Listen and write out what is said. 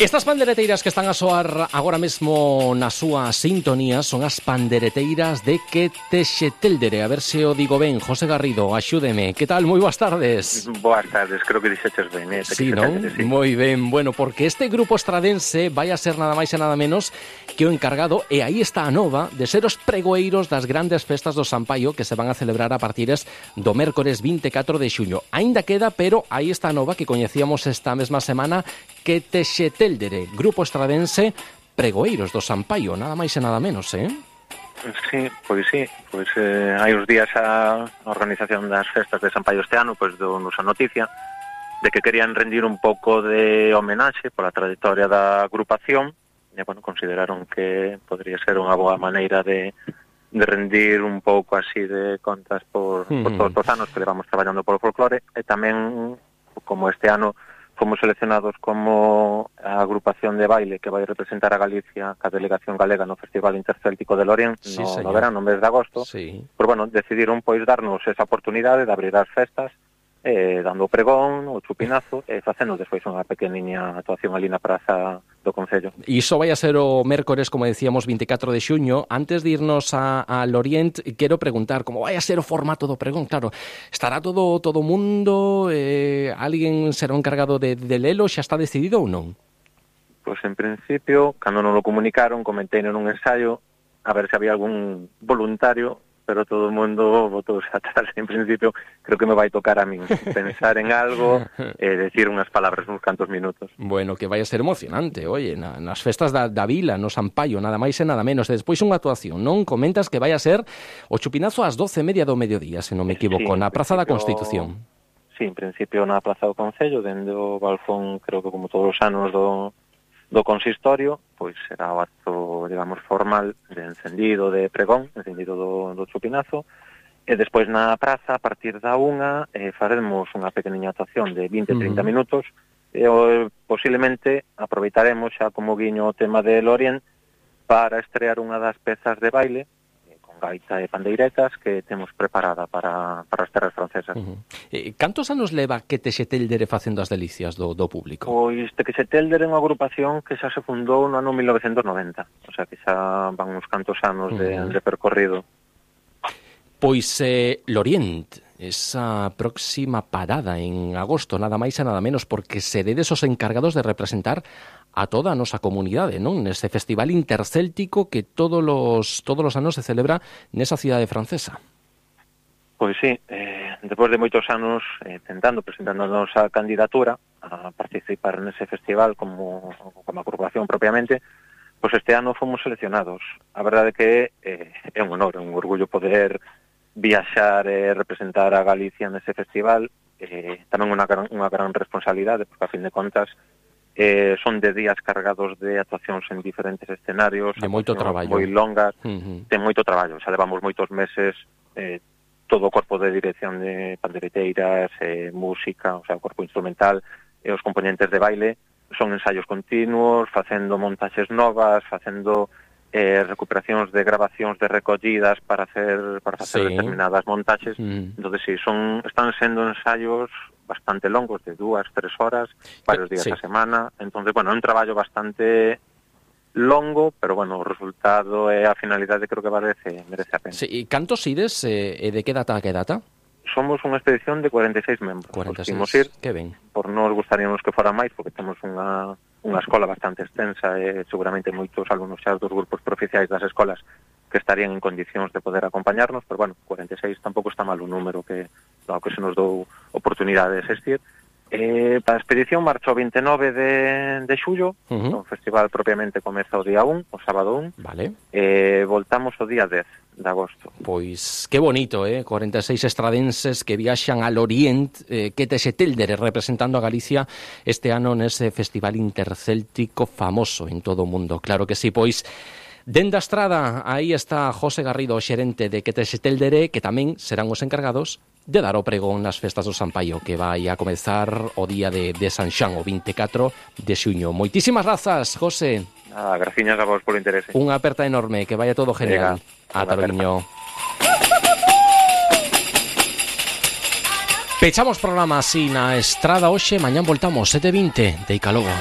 Estas pandereteiras que están a soar agora mesmo na súa sintonía son as pandereteiras de Quetexetéldere. A ver se o digo ben. José Garrido, axúdeme. Que tal? Moi boas tardes. Boas tardes, creo que dixeches ben. Sí, non? Sí. Moi ben. Bueno, porque este grupo estradense vai a ser nada máis e nada menos que o encargado, e aí está a nova, de ser os pregoeiros das grandes festas do San Paio que se van a celebrar a partires do mércores 24 de xuño. Aínda queda, pero aí está a nova que coñecíamos esta mesma semana, Quetexetéldere, grupo estradense, pregoeiros do San Paio, nada máis e nada menos, Sí, pois hai uns días a organización das festas de San Paio este ano dou-nos a noticia de que querían rendir un pouco de homenaxe pola trayectoria da agrupación e, consideraron que podría ser unha boa maneira de rendir un pouco así de contas por todos os anos que levamos traballando polo folclore, e tamén, como este ano fomos seleccionados como a agrupación de baile que vai representar a Galicia, a delegación galega no Festival Intercéltico de Lorient, no verano, no mes de agosto, decidiron darnos esa oportunidade de abrir as festas, dando o pregón, o chupinazo, e facendo despois unha pequeniña actuación ali na praza do Concello. E iso vai a ser o mércores, como decíamos, 24 de xuño. Antes de irnos a Lorient, quero preguntar como vai a ser o formato do pregón. Claro, estará todo o mundo, alguén será o encargado de lelo, xa está decidido ou non? Pois en principio, cando non lo comunicaron, comentei nun ensaio a ver se había algún voluntario, pero todo o mundo botouse atrás. En principio, creo que me vai tocar a min pensar en algo e decir unhas palabras uns cantos minutos. Bueno, que vai a ser emocionante, oye, nas festas da vila, no San Paio, nada máis e nada menos. Despois unha actuación, non? Comentas que vai a ser o chupinazo ás 12:30 do mediodía, se non me equivoco, na Praza da Constitución. Sí, en principio na Praza do Concello, dende o balcón, creo que como todos os anos do consistorio, pois será o acto, digamos, formal de encendido de pregón, encendido do chupinazo, e despois na praza, a partir da 1, faremos unha pequeniña actuación de 20-30 minutos, e posiblemente aproveitaremos xa como guiño o tema de Lorient para estrear unha das pezas de baile, con gaita e pandeiretas, que temos preparada para as terras francesas. Cantos anos leva Quetexetéldere facendo as delicias do público? Pois Quetexetéldere é unha agrupación que xa se fundou no ano 1990, o sea que xa van uns cantos anos de percorrido. Pois Lorient, esa próxima parada en agosto, nada máis e nada menos, porque seredes os encargados de representar a toda a nosa comunidade, non? Nese festival intercéltico que todos os anos se celebra nesa cidade francesa. Pois sí, despois de moitos anos presentando a nosa candidatura a participar nese festival como agrupación propiamente, pois este ano fomos seleccionados. A verdade que é un honor, é un orgullo poder viaxar e representar a Galicia nese festival, tamén unha gran responsabilidade, porque a fin de contas son de días cargados de actuacións en diferentes escenarios, de moito traballo, moi longas, de moito traballo. Xa levamos moitos meses, todo o corpo de dirección de pandereteiras, música, o sea, o corpo instrumental e os componentes de baile, son ensaios continuos, facendo montaxes novas, facendo recuperacións de grabacións de recollidas para facer determinadas montaxes. Entonces, sí, están sendo ensaios bastante longos, de 2-3 horas, varios días a semana. Entonces, é un traballo bastante longo, pero, o resultado e a finalidade creo que merece a pena. Sí, e cantos ides e de que data a que data? Somos unha expedición de 46 membros. 46, ir, que ben. Por nos gustaríamos que fora máis, porque temos unha escola bastante extensa e seguramente moitos alumnos xa dos grupos provinciais das escolas que estarían en condicións de poder acompañarnos, pero 46 tampouco está mal un número que se nos dou oportunidade de existir. A expedición marchou 29 de xullo, o festival propiamente comeza o día 1, o sábado 1, vale. Voltamos o día 10 de agosto. Pois que bonito, 46 estradenses que viaxan al Orient, Quetexetéldere representando a Galicia este ano nese festival intercéltico famoso en todo o mundo. Claro que sí, pois dende a estrada, aí está José Garrido, o xerente de Quetexetéldere, que tamén serán os encargados de dar o pregón nas festas do San Paio, que vai a comezar o día de San Xan, o 24 de xuño. Moitísimas grazas, José. Graciñas a vos polo interese. Unha aperta enorme, que vaya todo genial. Ata logo. Pechamos programa así na estrada hoxe, mañán voltamos 7:20 de Icalogo.